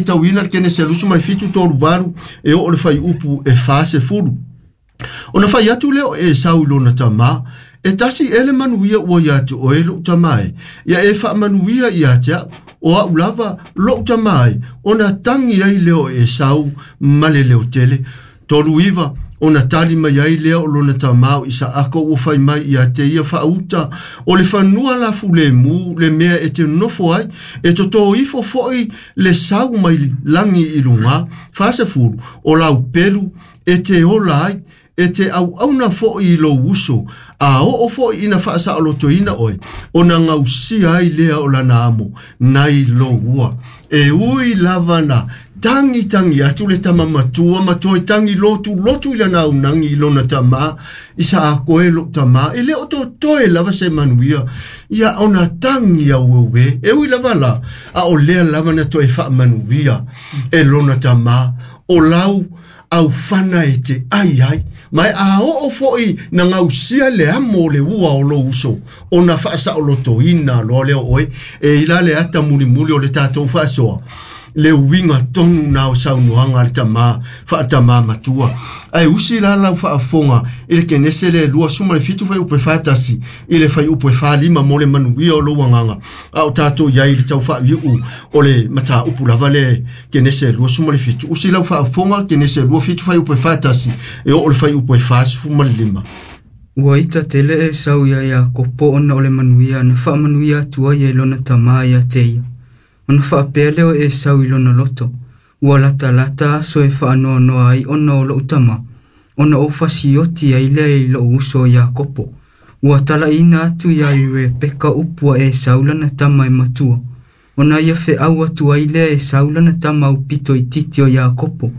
faitauina le Kenese 27 38 e oo le fuaiupu e 40. Ona fai atu lea o Esau i lona tamā, E tasi ea le manuia ua ia te oe lo'u tamā e, ia e faamanuia ia te a'u, o a'u lava lo'u tamā e, ona tagi ai lea o Esau ma le leo tele. 39 ona tali mai ai lea o lona tamā o Isaaka ua fai mai ia te ia, Faauta o le fanua la fulemu le mea e te nofo ai, e totō ifo foi le sau mai lagi i lugā. 40 o lau pelu e te ola ai, e te auauna foi i lou uso, a oo foi ina faasaolotoina oe, ona gausia ai lea o lana amo nai lou ua. E ui lava na tagitagi atu le tama matua ma toe tagi lotulotu i lana aunagi i lona tamā, Isaako e lo'u tamā, e le o totoe lava se manuia, ia ona tagi aueuē. E ui lava la, a o lea lava na toe faamanuia e lona tamā, o lau aufana e te ai ai, ma e a oo foi na gausia le amo o le ua o lou uso, ona faasaolotoina loa lea o oe. E i la le ata mulimuli o le tatou faasoa, le uiga tonu na o saunoaga a le tamā faatamā matua. Ae usi la lau faafofoga i le Kenese le 27 fuaiupu e 41 i le fuaiupu e 45 mo le manuia o lou agaga, a o tatou i ai i le tau faaiuiu o le mataupu lava le Kenese 27. Usi lau faafofoga Kenese 27 fuaiupu e 41 e oo le fuaiupu e 45. Ua ita tele Esau iā Iakopo ona o le manuia na faamanuia atu ai e lona tamā ia te ia. Ona faapea lea o Esau i lona loto, Ua latalata aso e faanoanoa ai ona o lo'u tamā, ona ou fasioti ai lea i lo'u uso o Iakopo. Ua talaʻiina atu iā Rebeka upu a Esau lana tama e matua. Ona ia feʻau atu ai lea e Esau lana tama aupito itiiti o Iakopo,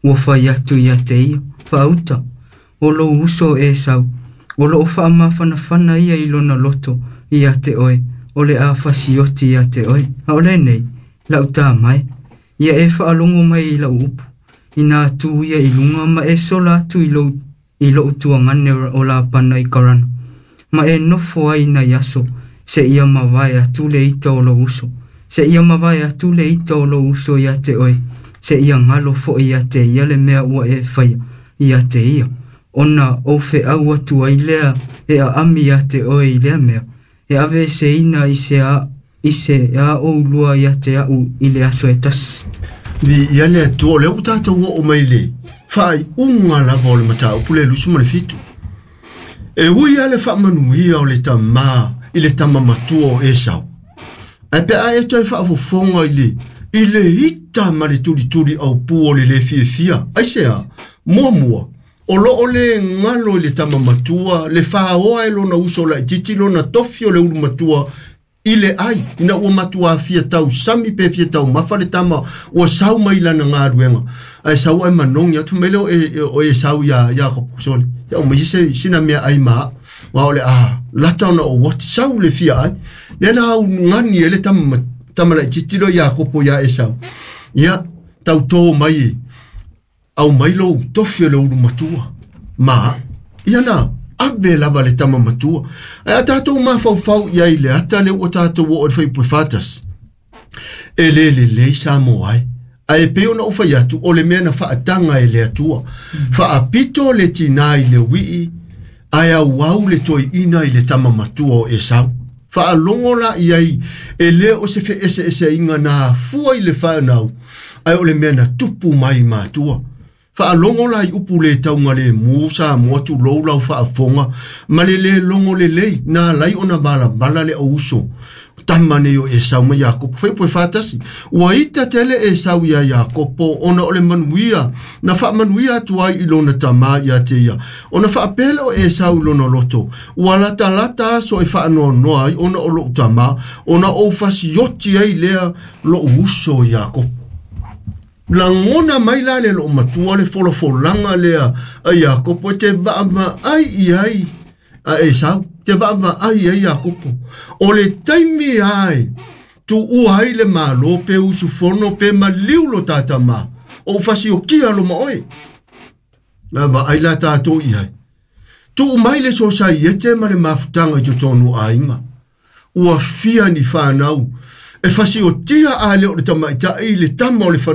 ua fai atu ia te ia, Faauta, o lou uso o Esau, o loo faamafanafana ia i lona loto ia te oe, o le a fasioti ia te oe. A o lenei, lau tama e, ia e faalogo mai i lau upu, inā tu ia i luga ma e sola atu i lou i loʻu tuagane o Lapana i Karana, ma e nofo ai nai aso, seia mavae atu le ita o lou uso, seia mavae atu le ita o lou uso ia te oe, seia galo foi ia te ia le mea ua e faia ia te ia, ona ou feʻau atu ai lea e aʻami ia te oe i lea mea, e aveeseina i se a i se a ʻoulua ia te aʻu i le aso e tasi. Viia le Atua, o lea ua tatou oo mai i le faaiuga lava o le mataupu le 27. E ui lava le faamanuia o le tamā i le tama matua o Esau, ae pe a e toe faafofoga i le i le ita ma le tulituli aupū o le lē fiafia, aisea? Muamua, o lo o le galo i le tama matua le faoa e lona uso laitiiti lona tofi o le ulu matua i le ai, ina ua matuā fia tausami pe fia taumafa le tama ua sau mai lana galuega, ae sau ae manogi atu mai lea o e, o Esau iā Iakopo, sole, ia aumai se sina meaai ma a'u, aua o le a lata ona ou oti, sau le fia ai. Lea na augani ai le tama, tama laitiiti lea o Iakopo iā Esau, ia, tautō mai e, aumai lou tofi o le ulu matua ma ia na ave lava le tama matua. Ae a tatou mafaufau i ai i le ata lea ua tatou oo i le fuaiupu e 41, e le lelei Samoa e. Ae e pei ona ou fai atu, o le mea na faataga e le Atua. Faapito le tinā i le uii, ae auau le toeaina i le tama matua o Esau. Faalogo la i ai, e le o se feeseeseaiga na afua i le fanau, ae o le mea na tupu mai i matua. Faalogo la i upu le taugalemu, Samoa tulou lau faafofoga, ma le le logo lelei, na alai ona valavala le auuso tama nei o Esau ma Iakopo. Fuaiupu e 41, Ua ita tele Esau iā Iakopo ona o le manuia na faamanuia atu ai i lona tamā ia te ia. Ona faapea lea o Esau i lona loto, Ua latalata aso e faanoanoa ai ona o loʻu tamā, ona ou fasioti ai lea loʻu uso Iakopo. Lagona mai la le loomatua le folafolaga lea a Iakopo e te vaavaai i ai a Esau, te vaavaai i ai Iakopo. O le taimi lava e tuua ai le Malo pe usufono pe maliu lo ta tamā, o ou fasiokia lo ma oe. Na vaai la tatou i ai. Tuu mai le sosaiete ma le mafutaga i totonu o aiga. Ua fia ni fanau e fasiotia a le o le tamaitai le tama o le